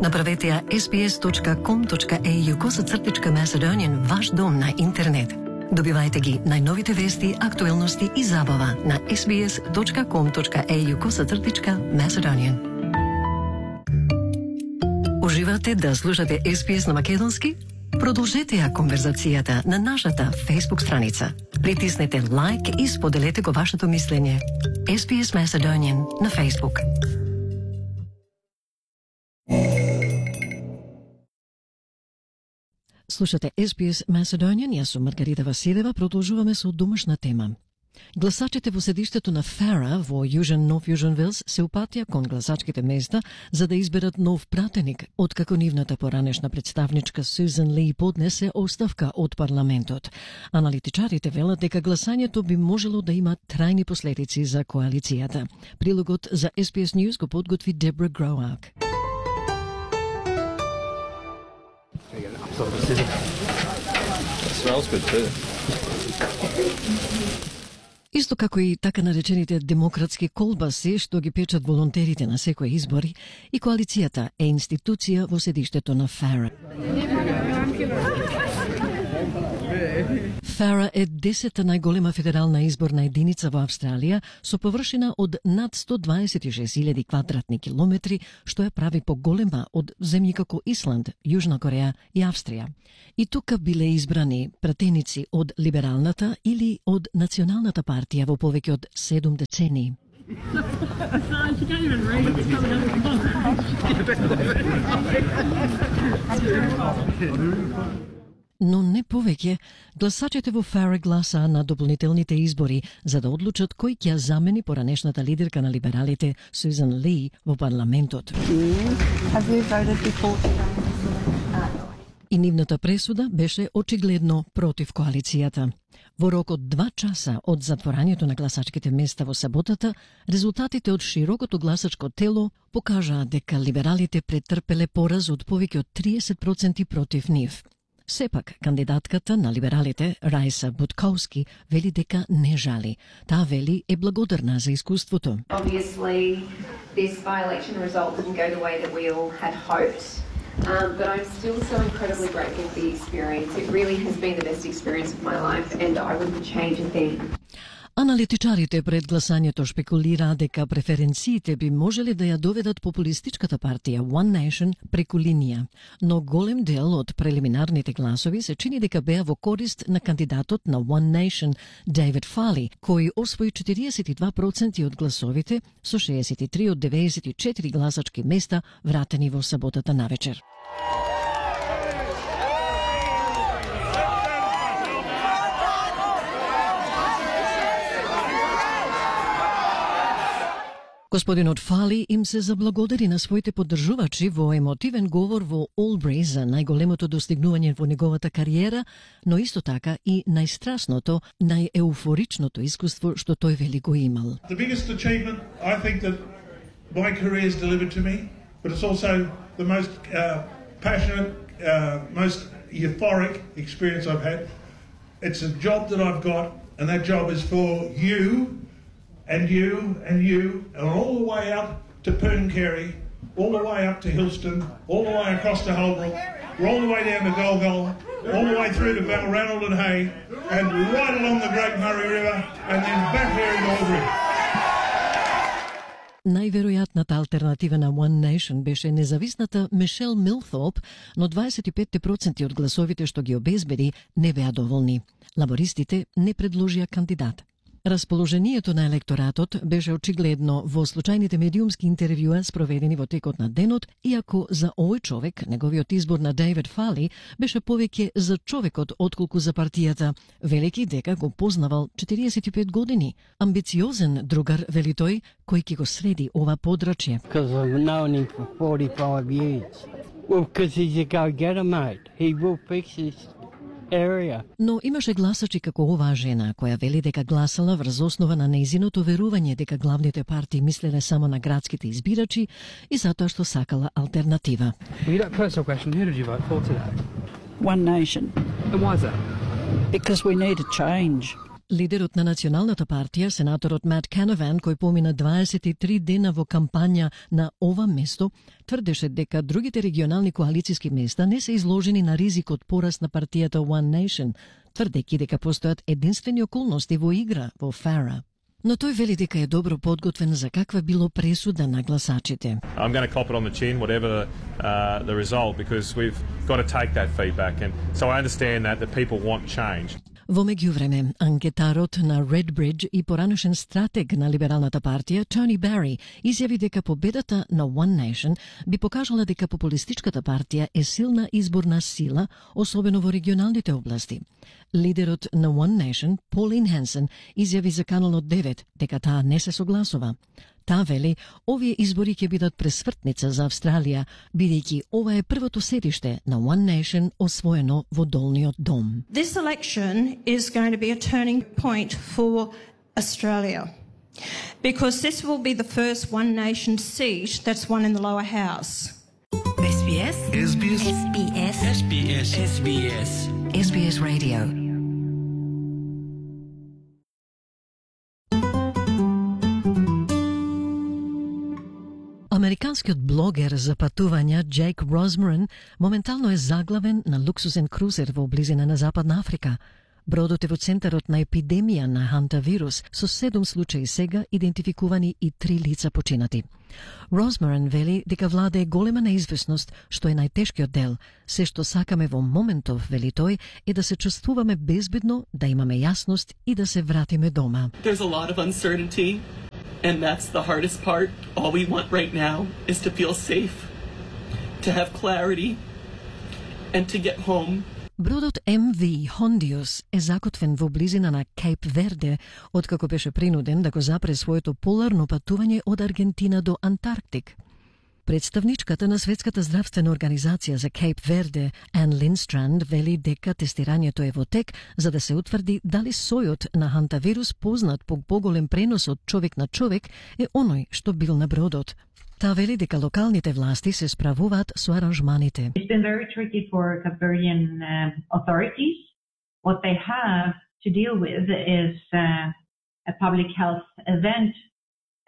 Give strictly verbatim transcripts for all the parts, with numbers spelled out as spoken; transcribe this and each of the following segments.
Направете ја ес би ес точка ком точка ей ю косацртичка Macedonian ваш дом на интернет. Добивајте ги најновите вести, актуелности и забава на ес би ес точка ком точка ей ю косацртичка Macedonian. Уживате да слушате ес би ес на македонски? Продолжете ја конверзацијата на нашата Facebook страница. Притиснете лайк и споделете го вашето мислење. ес би ес Macedonian на Facebook. Слушате ес би ес Macedonian, јас сум Маргарита Василева, продолжуваме со домашна тема. Гласачите во седиштето на Фара во Јужен Нов Јужен Велс се упатија кон гласачките места за да изберат нов пратеник, откако нивната поранешна представничка Сюзан Ли поднесе оставка од парламентот. Аналитичарите велат дека гласањето би можело да има трајни последици за коалицијата. Прилогот за ес би ес News го подготви Дебра Гроак. It smells good too. Исто како и така наречените демократски колбаси што ги печат волонтерите на секои избори, и коалицијата е институција во седиштето на Фара. Фара е десета најголема федерална изборна единица во Австралија со површина од над сто дваесет и шест илјади квадратни километри, што ја прави поголема од земји како Исланд, Јужна Кореја и Австрија. И тука биле избрани пратеници од либералната или од националната партија во повеќе од седум децении. Но не повеќе, гласачите во Фара гласаа на дополнителните избори за да одлучат кој ќе замени поранешната лидерка на либералите Сюзан Ли во парламентот. И нивната пресуда беше очигледно против коалицијата. Во рок од два часа од затворањето на гласачките места во саботата, резултатите од широкото гласачко тело покажаа дека либералите претрпеле пораз од повеќе од триесет проценти против нив. Сепак, кандидатката на либералите, Рајса Буткоўски, вели дека не жали. Таа вели е благодарна за искуството. Obviously, this by-election result didn't go the way that we all had hoped, um, but I'm still so incredibly grateful for the experience. It really has been the best experience of my life, and I wouldn't change a thing. Аналитичарите пред гласањето шпекулираа дека преференциите би можеле да ја доведат популистичката партија One Nation преку линија, но голем дел од прелиминарните гласови се чини дека беа во корист на кандидатот на One Nation, Дейвид Фали, кој освои четириесет и два проценти од гласовите со шеесет и три од деветдесет и четири гласачки места вратени во саботата навечер. Господинот Фали им се заблагодари на своите поддржувачи во емотивен говор во Олбри за најголемото достигнување во неговата кариера, но исто така и најстрасното, најеуфоричното искуство што тој вели го имал. The biggest achievement I think that my career has delivered to me, but it's also the most uh, passionate, uh, most euphoric experience I've had. It's a job that I've got, and that job is for you. And you, and you, and all the way out to Pooncarie, all the way up to Hillston, all the way across to Holbrook, all the way down to Golgol, all the way through to Balranald and Hay, and right along the Great Murray River, and then back here in Albury. Најверојатната алтернатива на One Nation беше независната Мишел Милтоп, но дваесет и пет проценти од гласовите што ги обезбеди не беа доволни. Лабористите не предложија кандидат. Расположението на електоратот беше очигледно во случајните медиумски интервјуа спроведени во текот на денот, иако за овој човек, неговиот избор на Дейвид Фали, беше повеќе за човекот отколку за партијата, велики дека го познавал четириесет и пет години. Амбициозен другар, вели тој, кој ќе го среди ова подрачје. Because I've known him for forty-five years. Well, because he's a go-getter, mate. He will fix this area. Но имаше гласачи како оваа жена, која вели дека гласала врз основа на нејзиното верување дека главните партии мислеле само на градските избирачи и затоа што сакала алтернатива. Well, you know, personal question, who did you vote for today? One Nation. And why is that? Because we need a change. Лидерот на Националната партија, сенаторот Мат Канаван, кој помина дваесет и три дена во кампања на ова место, тврдеше дека другите регионални коалициски места не се изложени на ризик од пораст на партијата One Nation, тврдејќи дека постојат единствени околности во игра во Фара. Но тој вели дека е добро подготвен за каква било пресуда на гласачите. I'm going to cop it on the chin, whatever uh, the result, because we've got to take that feedback. And so I understand that the people want change. Во меѓувреме, анкетарот на Redbridge и поранешен стратег на Либералната партија, Тони Бари, изјави дека победата на One Nation би покажала дека популистичката партија е силна изборна сила, особено во регионалните области. Лидерот на One Nation, Полин Хенсен, изјави за Каналот девет дека таа не се согласува. Таа вели, овие избори ќе бидат пресвртница за Австралија, бидејќи ова е првото седиште на One Nation освоено во долниот дом. This election is going to be a turning point for Australia, because this will be the first One Nation seat that's won in the lower house. S B S S B S S B S S B S S B S S B S Radio. Американскиот блогер за патувања Джейк Росмарин моментално е заглавен на луксузен крузер во близина на Западна Африка. Бродот е во центарот на епидемија на хантавирус, со седум случаи сега идентификувани и три лица починати. Росмарин вели дека владее голема неизвестност, што е најтешкиот дел. Се што сакаме во моментов, вели тој, е да се чувствуваме безбедно, да имаме јасност и да се вратиме дома. There's a lot of uncertainty, and that's the hardest part. All we want right now is to feel safe, to have clarity, and to get home. Бродот Ем Ви Хондиус е закотвен во близина на Кейп Верде, откако беше принуден да го запре своето поларно патување од Аргентина до Антарктик. Представничката на Светската здравствена организација за Кейп Верде, Ан Линстранд, вели дека тестирањето е во тек за да се утврди дали сојот на хантавирус, познат по поголем пренос од човек на човек, е оној што бил на бродот. Таа вели дека локалните власти се справуваат со аранжманите. It's been very tricky for Cape Verdean uh, authorities. What they have to deal with is uh, a public health event,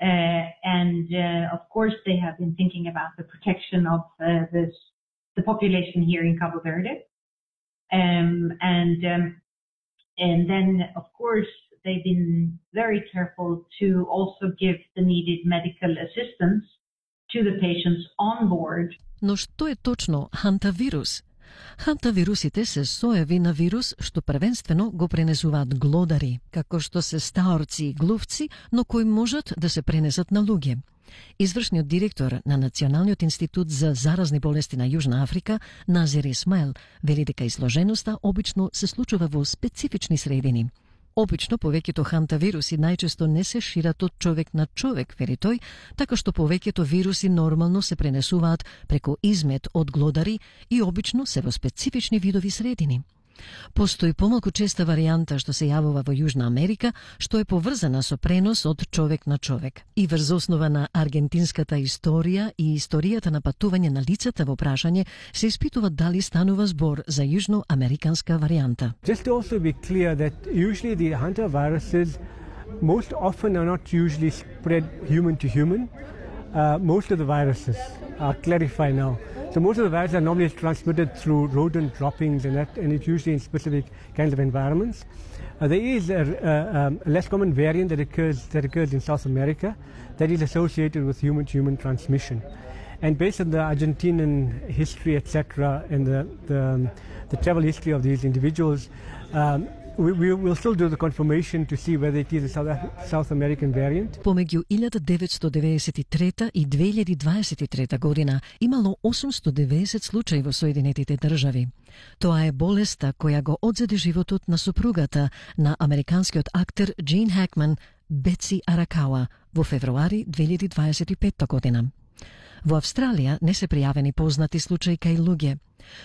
uh, and uh, of course they have been thinking about the protection of uh, this, the population here in Cabo Verde, um, and um, and then of course they've been very careful to also give the needed medical assistance to the patients on board. Но што е точно хантавирус? Хантавирусите се соеви на вирус што првенствено го пренесуваат глодари, како што се стаорци и глувци, но кои можат да се пренесат на луѓе. Извршниот директор на Националниот институт за заразни болести на Јужна Африка, Назир Исмаил, вели дека изложеноста обично се случува во специфични средини. Обично повеќето хантавируси најчесто не се шират од човек на човек, вели тој, така што повеќето вируси нормално се пренесуваат преку измет од глодари и обично се во специфични видови средини. Постои помалку честа варијанта што се јавува во Јужна Америка, што е поврзана со пренос од човек на човек. И врз основа на аргентинската историја и историјата на патување на лицата во прашање, се испитува дали станува збор за јужноамериканска варијанта. Just to also be clear that usually the hantaviruses most often are not usually spread human to human. Uh, most of the viruses, I'll clarify now. So most of the viruses are normally transmitted through rodent droppings, and that, and it's usually in specific kinds of environments. Uh, there is a, a, um, a less common variant that occurs that occurs in South America that is associated with human-to-human transmission. And based on the Argentinian history, et cetera, and the the, um, the travel history of these individuals, um, We, we will still do the confirmation to see whether it is a South, South American variant. Помеѓу илјада деветстотини деветдесет и трета и две илјади дваесет и трета година имало осумстотини и деветдесет случаи во Соединетите држави. Тоа е болеста која го одзеде животот на сопругата на американскиот актер Джин Хакман, Бетси Аракауа, во февруари две илјади дваесет и петта година. Во Австралија не се пријавени познати случаи кај луѓе.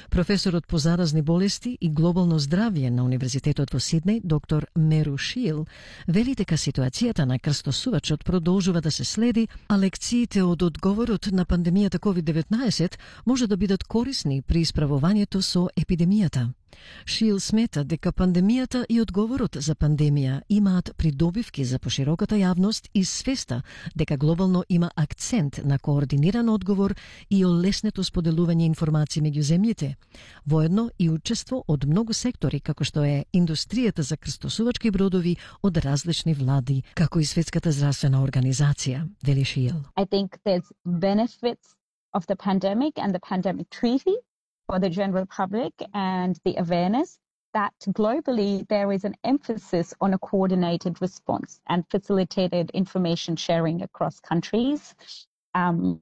Професорот по заразни болести и глобално здравје на Универзитетот во Сиднеј, доктор Меру Шил, вели дека ситуацијата на крстосувачот продолжува да се следи, а лекциите од одговорот на пандемијата ковид деветнаесет може да бидат корисни при исправувањето со епидемијата. Шил смета дека пандемијата и одговорот за пандемија имаат придобивки за пошироката јавност и свеста дека глобално има акцент на координиран одговор и олеснето споделување информации меѓу земјите, воедно и учество од многу сектори како што е индустријата за крстосувачки бродови од различни влади, како и Светската здравствена организација, вели Шил. I think there's benefits of the pandemic and the pandemic treaty for the general public and the awareness that globally there is an emphasis on a coordinated response and facilitated information sharing across countries, um,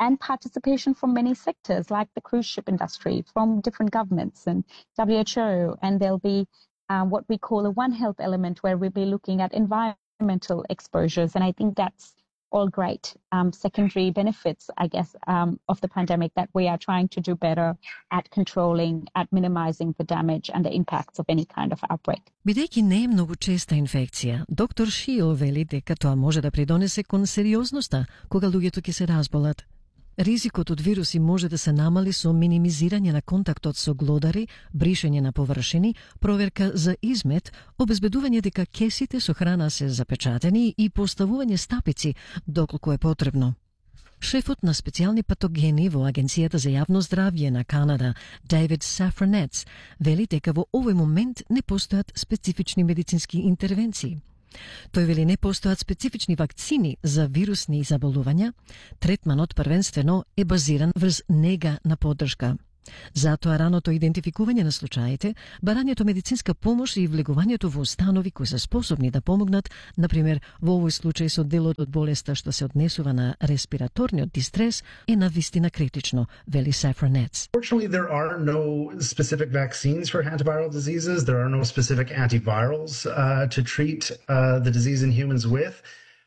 and participation from many sectors like the cruise ship industry, from different governments and W H O, and there'll be uh, what we call a One Health element where we'll be looking at environmental exposures, and I think that's all great um, secondary benefits, I guess, um, of the pandemic that we are trying to do better at controlling, at minimizing the damage and the impacts of any kind of outbreak. Бидејќи не е многу честа инфекција, доктор Шио вели дека тоа може да придонесе кон сериозноста кога луѓето ќе се разболат. Ризикот од вируси може да се намали со минимизирање на контактот со глодари, бришење на површини, проверка за измет, обезбедување дека кесите со храна се запечатени и поставување стапици доколку е потребно. Шефот на специјални патогени во Агенцијата за јавно здравје на Канада, Дейвид Сафранец, вели дека во овој момент не постојат специфични медицински интервенции. Тој вели не постојат специфични вакцини за вирусни заболувања, третманот првенствено е базиран врз нега на поддршка. Затоа раното идентификување на случаите, барањето медицинска помош и влегувањето во установи кои се способни да помогнат, например во овој случај со делот од болеста што се однесува на респираторниот дистрес, е навистина критично, вели Сафранец. Fortunately, there are no specific vaccines for hantaviral diseases. There are no specific antivirals uh, to treat uh, the disease in humans with.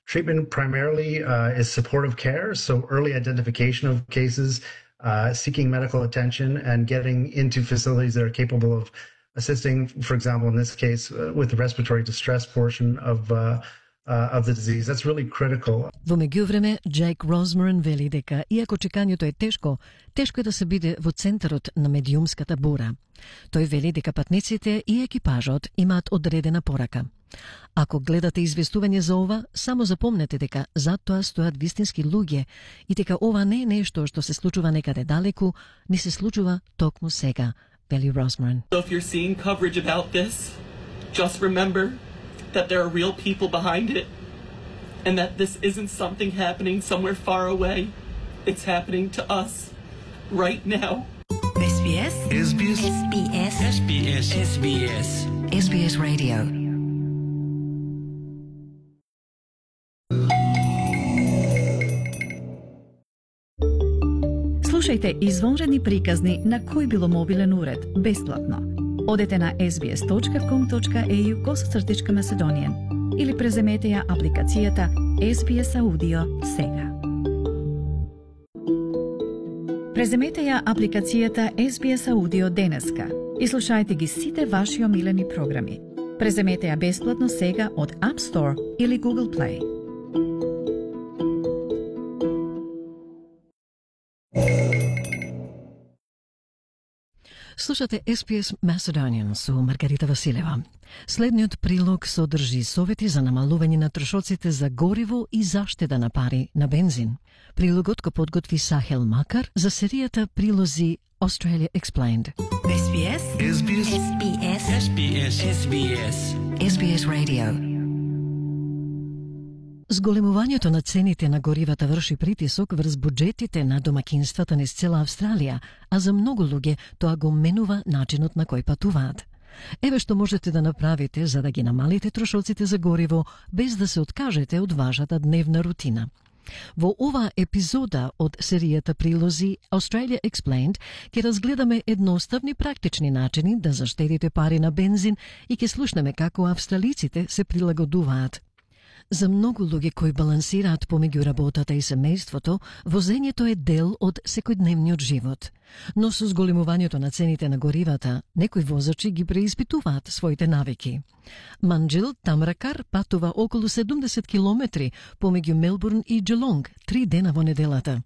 Treatment primarily uh, is supportive care, so early identification of cases, Uh, seeking medical attention and getting into facilities that are capable of assisting, for example, in this case, uh, with the respiratory distress portion of uh, uh, of the disease. That's really critical. Во меѓувреме, Джейк Розмерен вели дека, иако чекањето е тешко, тешко е да се биде во центарот на медиумската бура. Тој вели дека патниците и екипажот имаат одредена порака. Ако гледате известување за ова, само запомнете дека зад тоа стојат вистински луѓе и дека ова не е нешто што се случува некаде далеку, ни се случува токму сега, вели Розмерен. So if you're seeing coverage about this, just remember that there are real people behind it and that this isn't something happening somewhere far away. It's happening to us right now. S B S S B S S B S S B S S B S S B S Radio. Слушајте извонредни приказни на кој било мобилен уред, бесплатно. Одете на ес би ес точка ком точка ей ю косацртичка Macedonian или преземете ја апликацијата Ес Би Ес Audio сега. Преземете ја апликацијата Ес Би Ес Audio денеска и слушајте ги сите ваши омилени програми. Преземете ја бесплатно сега од App Store или Google Play. Слушате Ес Би Ес Macedonian со Маргарита Василева. Следниот прилог содржи совети за намалување на трошоците за гориво и заштеда на пари на бензин. Прилогот го подготви Сахел Макар за серијата прилози Australia Explained. Ес Би Ес Ес Би Ес Ес Би Ес Ес Би Ес Ес Би Ес Ес Би Ес Radio. Зголемувањето на цените на горивата врши притисок врз буџетите на домакинствата низ цела Австралија, а за многу луѓе тоа го менува начинот на кој патуваат. Еве што можете да направите за да ги намалите трошоците за гориво без да се откажете од вашата дневна рутина. Во оваа епизода од серијата прилози Australia Explained ќе разгледаме едноставни практични начини да заштедите пари на бензин и ќе слушнеме како австралиците се прилагодуваат. За многу луѓе кои балансираат помеѓу работата и семејството, возењето е дел од секојдневниот живот. Но со зголемувањето на цените на горивата, некои возачи ги преиспитуваат своите навики. Манџил Тамракар патува околу седумдесет километри помеѓу Мелбурн и Джелонг, три дена во неделата.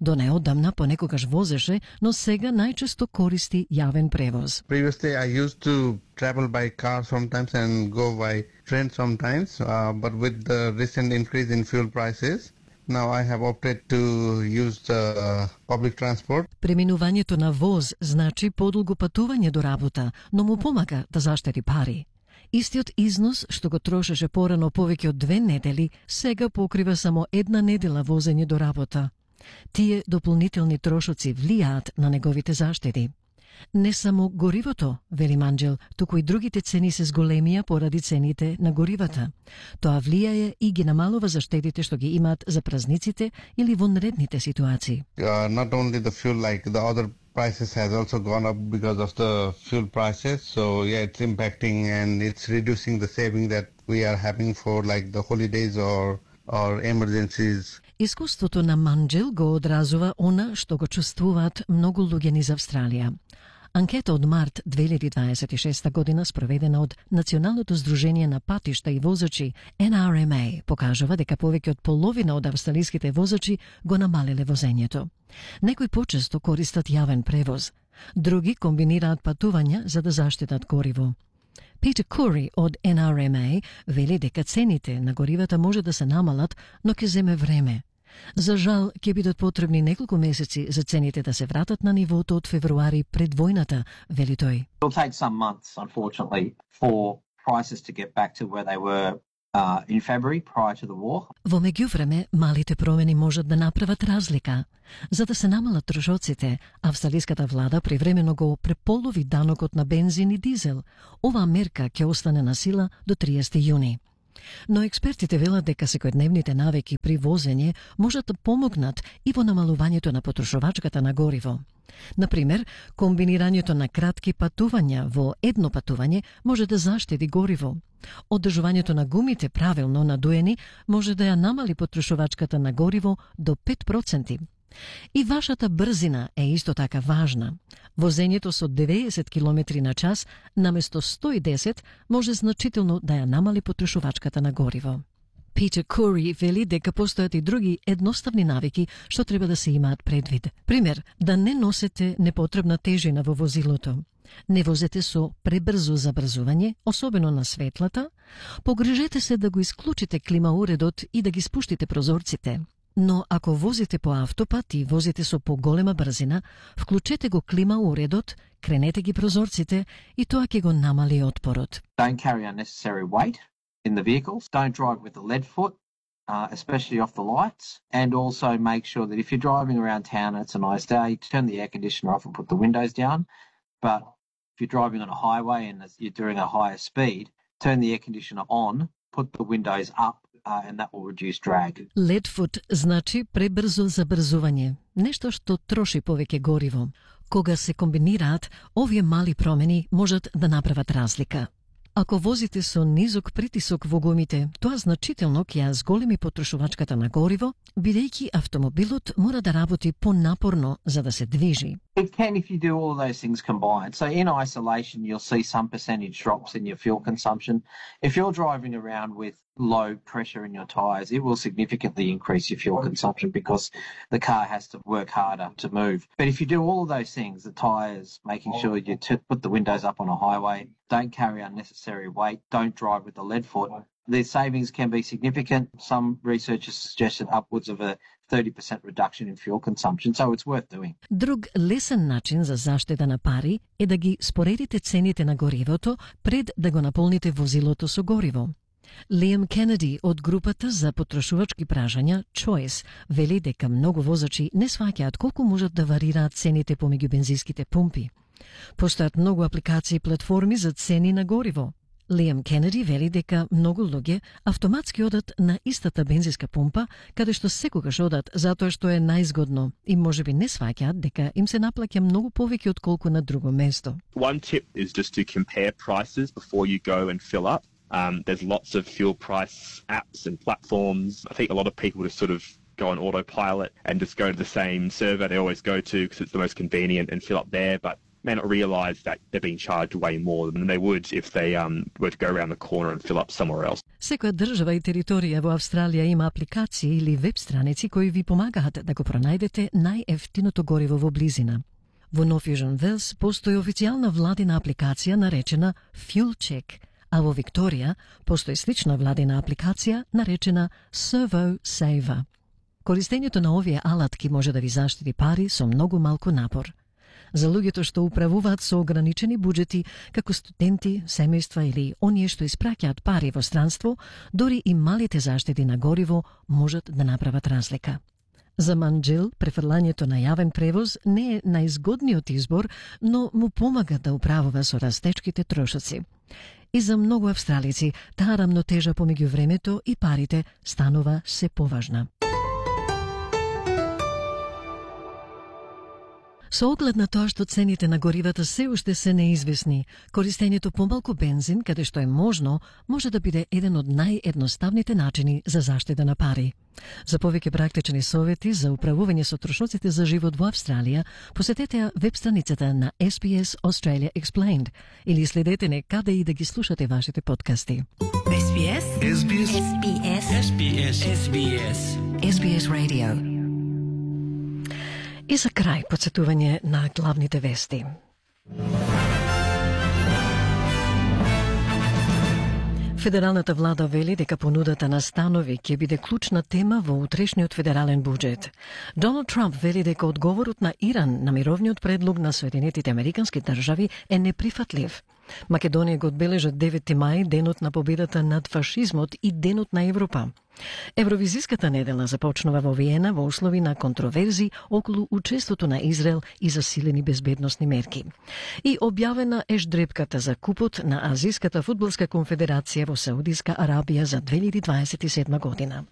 До неодамна понекогаш возеше, но сега најчесто користи јавен превоз. Previously I used to travel by car sometimes and go by train sometimes, uh, but with the recent increase in fuel prices, now I have opted to use the uh, public transport. Преминувањето на воз значи подолго патување до работа, но му помага да заштеди пари. Истиот износ што го трошеше порано повеќе од две недели, сега покрива само една недела возење до работа. Тие дополнителни трошоци влијаат на неговите заштеди. Не само горивото, вели Манџил, туку и другите цени се зголемија поради цените на горивата. Тоа влијае и ги намалува заштедите што ги имаат за празниците или вонредните ситуации. Uh, not only the fuel, like the other prices has also gone up because of the fuel prices. So yeah, it's impacting and it's reducing the saving that we are having for like the holidays or or emergencies. Искуството на Манџил го одразува она што го чувствуваат многу луѓе низ Австралија. Анкета од март две илјади дваесет и шеста година спроведена од Националното здружение на патишта и возачи Н Р М А покажува дека повеќе од половина од австралиските возачи го намалеле возењето. Некои почесто користат јавен превоз, други комбинираат патувања за да заштедат гориво. Питер Кури од Н Р М А вели дека цените на горивата може да се намалат, но ќе земе време. За жал, ќе бидат потребни неколку месеци за цените да се вратат на нивото од февруари пред војната, вели тој. It'll take some months, unfortunately, for prices to get back to where they were uh, in February prior to the war. Во меѓувреме, малите промени можат да направат разлика. За да се намалат трошоците, австралиската влада привремено го преполови данокот на бензин и дизел. Оваа мерка ќе остане на сила до триесети јуни. Но експертите велат дека секојдневните навики при возење можат да помогнат и во намалувањето на потрошувачката на гориво. Например, комбинирањето на кратки патувања во едно патување може да заштеди гориво. Одржувањето на гумите правилно надуени може да ја намали потрошувачката на гориво до пет проценти. И вашата брзина е исто така важна. Возењето со деветдесет километри на час наместо сто и десет може значително да ја намали потрошувачката на гориво. Питер Кури вели дека постојат и други едноставни навики што треба да се имаат предвид. Пример, да не носете непотребна тежина во возилото. Не возете со пребрзо забрзување, особено на светлата. Погрижете се да го исклучите климауредот и да ги спуштите прозорците. Но ако возите по автопат и возите со поголема брзина, вклучете го климауредот, кренете ги прозорците и тоа ќе го намали отпорот. Don't carry unnecessary weight in the vehicles. Don't drive with a lead foot, uh, especially off the lights. And also make sure that if you're driving around town and it's a nice day, turn the air conditioner off and put the windows down. But if you're driving on a highway and you're doing a higher speed, turn the air conditioner on, put the windows up, Uh, and that will reduce drag. Lead foot значи пребрзо забрзување, нешто што троши повеќе гориво. Кога се комбинираат, овие мали промени можат да направат разлика. Ако возите со низок притисок во гумите, тоа значително ќе ја зголеми потрошувачката на гориво, бидејќи автомобилот мора да работи понапорно за да се движи. It can if you do all of those things combined. So in isolation, you'll see some percentage drops in your fuel consumption. If you're driving around with low pressure in your tyres, it will significantly increase your fuel consumption because the car has to work harder to move. But if you do all of those things, the tyres, making sure you t- put the windows up on a highway, don't carry unnecessary weight, don't drive with a lead foot, the savings can be significant. Some researchers suggested upwards of a thirty percent reduction in fuel consumption, so it's worth doing. Друг лесен начин за заштеда на пари е да ги споредите цените на горивото пред да го наполните возилото со гориво. Лиам Кенеди од групата за потрошувачки пражања Choice вели дека многу возачи не сваќаат колку можат да варираат цените помеѓу бензинските пумпи. Постојат многу апликации и платформи за цени на гориво. Лиам Кенеди вели дека многу луѓе автоматски одат на истата бензинска пумпа, каде што секогаш одат затоа што е најзгодно и можеби не сваќаат дека им се наплаќа многу повеќе од колку на друго место. One tip is just to compare prices before you go and fill up. Um, there's lots of fuel price apps and platforms. I think a lot of people just sort of go on autopilot and just go to the same server they always go to because it's the most convenient and fill up there, but may not realise that they're being charged way more than they would if they um, were to go around the corner and fill up somewhere else. Секоја држава и територија во Австралија има апликации или веб страници кои ви помагаат да го пронајдете најефтиното гориво во близина. Во Нов Јужен Велс постои официјална владина апликација наречена Fuel Check, а во Викторија постои слична владина апликација наречена Servo Saver. Користењето на овие алатки може да ви заштити пари со многу малку напор. За луѓето што управуваат со ограничени буџети, како студенти, семејства или оние што испраќаат пари во странство, дори и малите заштети на гориво можат да направат разлика. За Манџел, префрлањето на јавен превоз не е најзгодниот избор, но му помага да управува со растечките трошоци. И за многу австралици, таа рамнотежа помеѓу времето и парите станува се поважна. Со оглед на тоа што цените на горивата се уште се неизвестни, користењето помалку бензин, каде што е можно, може да биде еден од наједноставните начини за заштеда на пари. За повеќе практични совети за управување со трошоците за живот во Австралија, посетете ја веб страницата на Ес Би Ес Australia Explained или следете не каде и да ги слушате вашите подкасти. Ес Би Ес Ес Би Ес Ес Би Ес Ес Би Ес Ес Би Ес Radio. И за крај подсетување на главните вести. Федералната влада вели дека понудата на станови ќе биде клучна тема во утрешниот федерален буџет. Доналд Трамп вели дека одговорот на Иран на мировниот предлог на Соединетите Американски држави е неприфатлив. Македонија го одбележа девети мај, денот на победата над фашизмот и денот на Европа. Евровизиската недела започнува во Виена во услови на контроверзи околу учеството на Израел и засилени безбедносни мерки. И објавена е ждрепката за купот на Азиската фудбалска конфедерација во Саудиска Арабија за две илјади дваесет и седма година.